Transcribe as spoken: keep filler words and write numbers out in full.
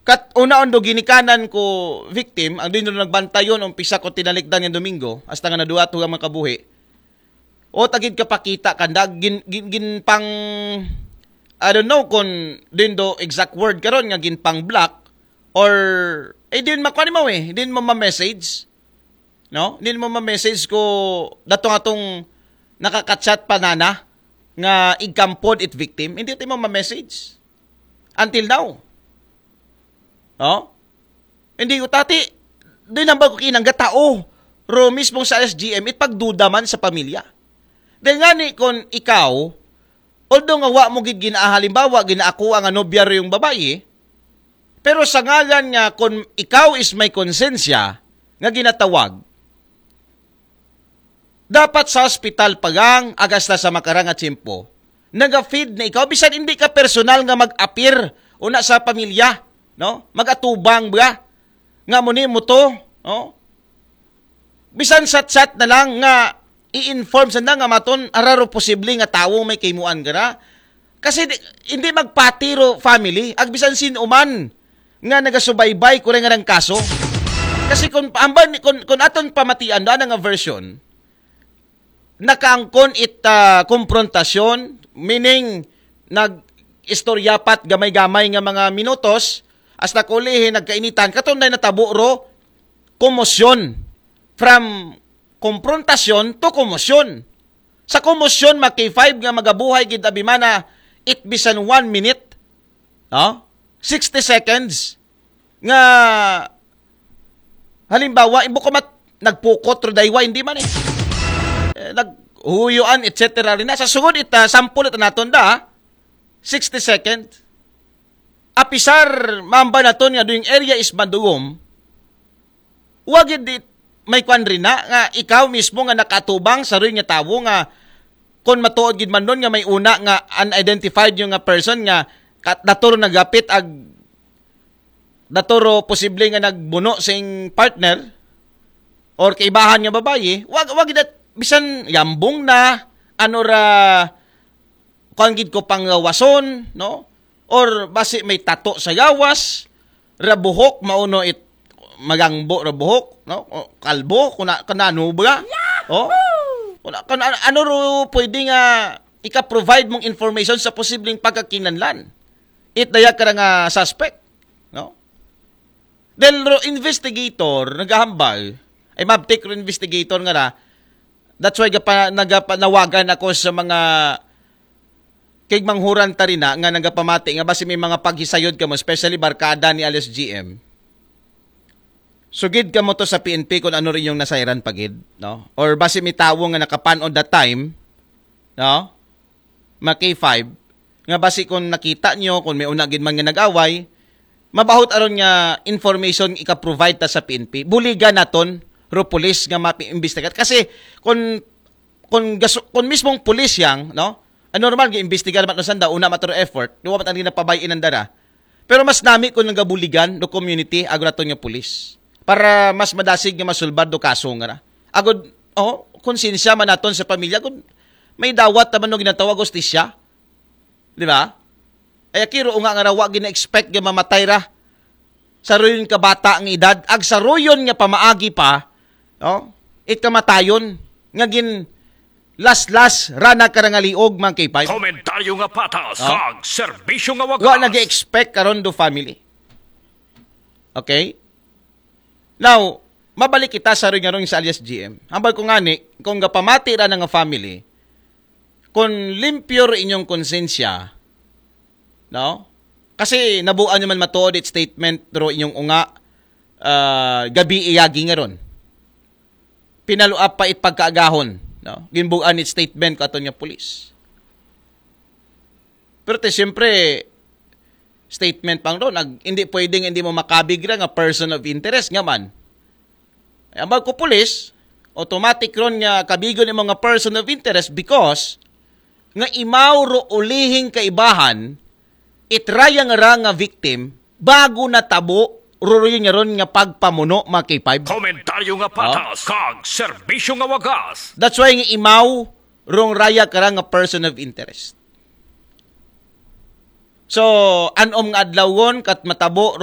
Kat una on do ginikanan ko victim, ang din do nagbantayon, umpisa ko tinalikdan nga Domingo, hasta nga naduwa to ang mga kabuhi. O tagid kapakita kanda, gin, gin, gin pang, I don't know kung din do exact word karon nga gin pang block, or, eh, din makuha mo eh, din mo ma-message, no? Din mo ma-message ko, datong atong nakakachat pa nana, nga igkampod it victim, hindi ti mo ma-message. Until now. No? Hindi ko tati, di nang bago kinangga tao. Ro mismo sa S G M, it pagduda man sa pamilya. Dahil nga ni, kung ikaw, although nga wa mo gid gina-, halimbawa, ginaakuha nga nobya ro yung babae, pero sa ngalan nga, kung ikaw is may konsensya, nga ginatawag, dapat sa hospital pagang agasta sa makarang nga tiyempo, naga-feed na ikaw, bisan hindi ka personal nga mag-appear una sa pamilya, no? Mag-atubang ba? Nga mo ni mo to, no? Bisan chat-chat na lang nga i-inform sa na nga maton, araro posible nga tawo may kaymuan gara. Kasi di, hindi magpatiro family, ag bisan sin uman nga nagasubaybay ko rin nga ng kaso. Kasi kung, amban, kung, kung aton pamatian na nga version, nakaangkon it ah, komprontasyon, meaning nag-istorya pat gamay-gamay nga mga minutos, hasta kulihin nagkainitan, katunday natabo ro, komosyon. From komprontasyon to komosyon. Sa komosyon, mga K five nga magabuhay gid abimana, it bisan one minute, no? Sixty seconds, nga halimbawa, imbo ka mat-, nagpukot, ro daywa, hindi man eh. Eh, naghuyuan, et cetera. Rin na, sa sugod, ita, sample ita naton da, sixty second. Apisar, mamba naton nga doing area is madugom, wagid di may kwan rin na, nga ikaw mismo nga nakatubang sa rin nga tawo nga kung matuod gid man nun nga may una nga unidentified yung nga person nga kat-, daturo nagapit ag daturo posible nga nagbuno sing partner or kaibahan nga babayi, wag, wag gid at bisan yambong na, ano ra, kuan gid ko panggawason, no? Or basi may tato sa gawas, ra buhok, mauno it magangbo ra buhok, no? O, kalbo, kuna, kanano ba? Oh? Kuna, kana, ano ro pwede nga ika-provide mong information sa posibleng pagkakinanlan? It daya ka nga suspect, no? Del ro investigator, nagahambal, ay mabtik ro investigator nga ra, that's why gapa, nagapa, nawagan ako sa mga kay manghuran ta rin na nga nagapamati nga basi may mga paghisayod kamo, especially barkada ni alias G M. Sugid kamo to sa P N P kung ano rin yung nasayran pagid, no? Or basi may tawo nga nakapanod that time, no? Mga K five, nga basi kung nakita nyo, kung may una gid man nga nag-away, mabahot aron nga information ika-provide ta sa P N P. Buligan naton, ro police nga mapi-imbestigat. Kasi kung kung gaso, kung mismong pulis yang, no? Ang normal, gi-imbestigar man sanda, una matro effort, duwa man ang ginapabay-in ang dara. Pero mas nami kung nagabuligan do community, ago naton nga pulis. Para mas madasig nga masulbad do kaso nga na. Agod, oh, konsensya man naton sa pamilya, kung may dawat naman no ginatawag hostisya. Di ba? Ay akiro nga nga rawa gina-expect nga mamatay ra sa ruyon ka bata nga edad, ag sa ruyon nga pamaagi pa, no? It kamatayon nga gin laslas rana karangaliog, mga K five. Komentaryo nga patas, no? Kag serbisyo nga wagas. Wa nag-expect karon do family. Okay? Now, mabalik kita sa ring sa alias G M. Hambal ko ngani, kung gapamati ra na nga family, kung limpyo ro inyong konsensya, no? Kasi nabuan nyo man matuod it statement ro inyong unga, ah, gabi iyagi nga ron. Pinaluap pa it pagkaagahon, no? Ginbuan it statement ko aton nga pulis. Pero te, siyempre, statement pang ron, ag, hindi pwedeng hindi mo makabig ra nga person of interest nga man. Ay, ambag ko pulis, automatic ron nga kabigon imo nga person of interest because nga imaw ro ulihing kaibahan, itrayang ra nga victim, bago natabo, ruruyon nga ron nga pagpamuno, mga K five. Komentaryo nga patas, kag serbisyo nga wagas. That's why nga imaw, rong raya ka ra nga person of interest. So, anom nga adlawon, kat matabo,